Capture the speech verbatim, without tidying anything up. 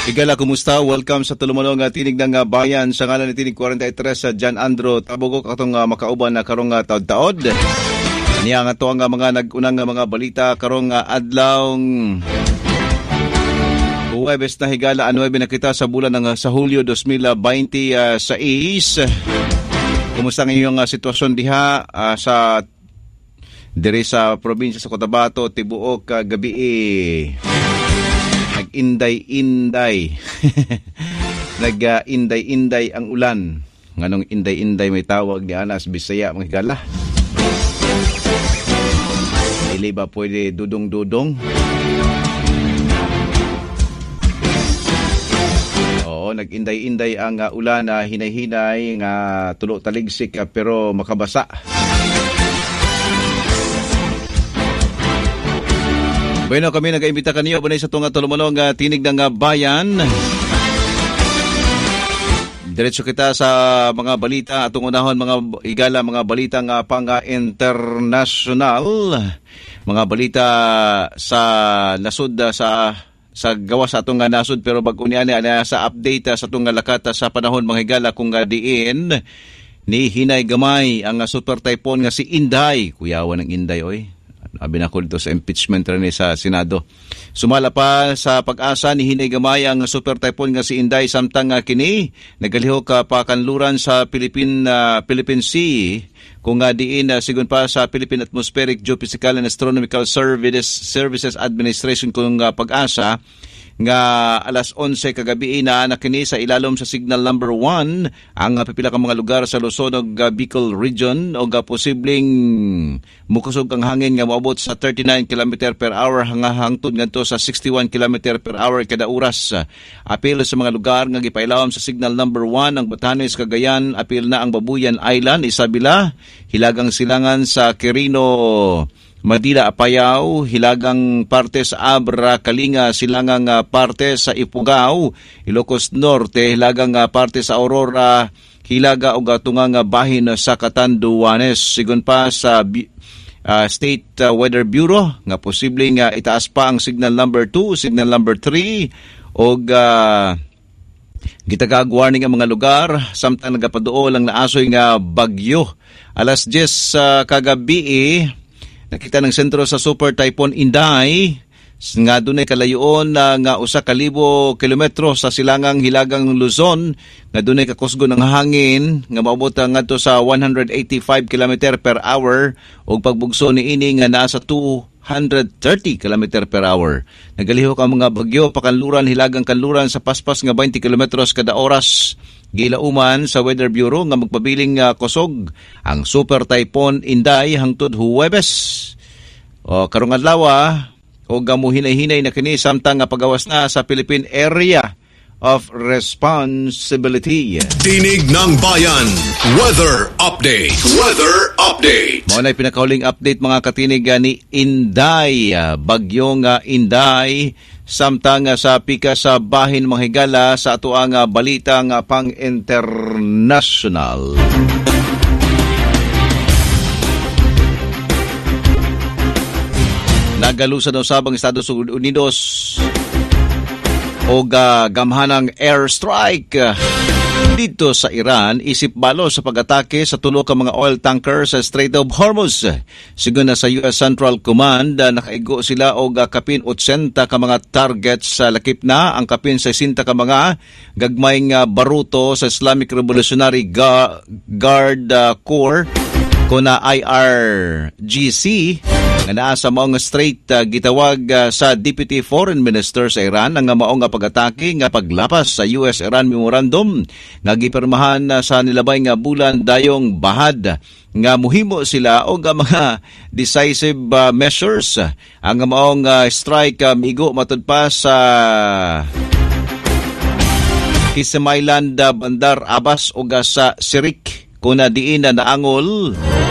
Higala, kumusta? Welcome sa tulumanon nga Tinig ng uh, Bayan sa ngalan ni Tinig forty-three sa John Andro Tabugok atong uh, makauban na karong uh, taod-taod. Niya nga to ang uh, mga nag-unang uh, mga balita karong uh, adlawng Huwebes na, higala, ang nuwebe na kita sa bulan ng uh, sa Hulyo twenty twenty-six. Kumusta ang inyong uh, sitwasyon diha uh, sa diri sa probinsya sa Cotabato, tibuok uh, gabi eh, nag-inday-inday. Nag-inday-inday ang ulan. Nganong inday-inday may tawag ni Anas Bisaya, mga higala? Dili ba pwede dudong-dudong? Oo, nag-inday-inday ang uh, ulan na uh, hinay-hinay nga tulo taligsik uh, pero makabasa. Bueno, kami nag-imbita kaniyo bunay sa tunga tulumanon nga Tinig ng Bayan. Diretso kita sa mga balita atong unahon, mga higala, mga balita nga pang-international, mga balita sa nasod sa sa gawas sa atong nasod, pero bag-o niya ani sa update sa atong lakat sa panahon, mga higala, kung diin ni hinay gamay ang super typhoon nga si Inday. Kuyawan ng Inday oy. Abi na ko dito sa impeachment rin sa Senado. Sumala pa sa Pag-asa ni hinay gamay ang super typhoon nga si Inday samtang uh, kini nagalihok uh, pakanluran sa Philippine uh, Philippine Sea kung uh, diin uh, sigon pa sa Philippine Atmospheric Geophysical and Astronomical Services Services Administration kung uh, Pag-asa nga alas onse kagabi na na kini sa ilalom sa signal number one ang pipila ka mga lugar sa Luzon ug Bicol region og posibleng mukusog ang hangin nga moabot sa thirty-nine kilometer per hour hangtod ngadto sa sixty-one kilometer per hour kada oras. Apil sa mga lugar nga gipailawom sa signal number one ang Batanes, Cagayan, apil na ang Babuyan Island, Isabela, Hilagang Silangan sa Quirino, Madila, Apayao, hilagang parte sa Abra, Kalinga, silangang parte sa Ifugao, Ilocos Norte, hilagang parte sa Aurora, Hilaga ug tungang bahin sa Catanduanes. Sigon pa sa uh, State Weather Bureau nga posible nga itaas pa ang signal number two, signal number three og uh, gitagag warning ang mga lugar samtang nagapaduol ang naasoy nga bagyo. Alas diyes uh, kagabi eh, nakita ng sentro sa Super Typhoon Inday nga dunay kalayoon uh, nga usa ka libo kilometro sa silangang hilagang Luzon nga dunay kakusgon ang hangin nga moabot ngadto sa one hundred eighty-five kilometer per hour ug pagbugso niini nga naa sa two hundred thirty kilometer per hour. Nagalihok ang mga bagyo pakanluran hilagang kanluran sa paspas nga twenty kilometros kada oras. Gilauman sa Weather Bureau nga magpabiling uh, kusog ang Super Typhoon Inday hangtod Huwebes. O karong adlaw og muhinay-hinay na kini samtang nga pagawas na sa Philippine Area of Responsibility. Tinig ng Bayan, Weather Update. Weather Update. Mao na pinakahuling update, mga katinig, ni Inday, bagyong Inday, samtang sa pika sa bahin, mga higala, sa atoang balita nga pang-international. Nagalusan usab ang Estados Unidos og uh, gamhanang airstrike dito sa Iran isip balo sa pag-atake sa tulo ka mga oil tanker sa Strait of Hormuz. Sigon na sa U S Central Command, nakaigo sila og kapin eighty ka mga targets sa lakip na ang kapin sixty ka mga gagmay nga baruto sa Islamic Revolutionary Guard Corps kuna I R G C nga naa sa maong strait. uh, gitawag uh, sa Deputy Foreign Minister sa Iran ang maong nga pag-atake nga paglapas sa U S-Iran Memorandum nga gipirmahan uh, sa nilabay nga bulan dayong bahad nga muhimo sila og mga decisive uh, measures. Ang maong uh, strike uh, migo matud pa sa Kisim Island, uh, Bandar Abbas ug sa Sirik kuna diin na naangol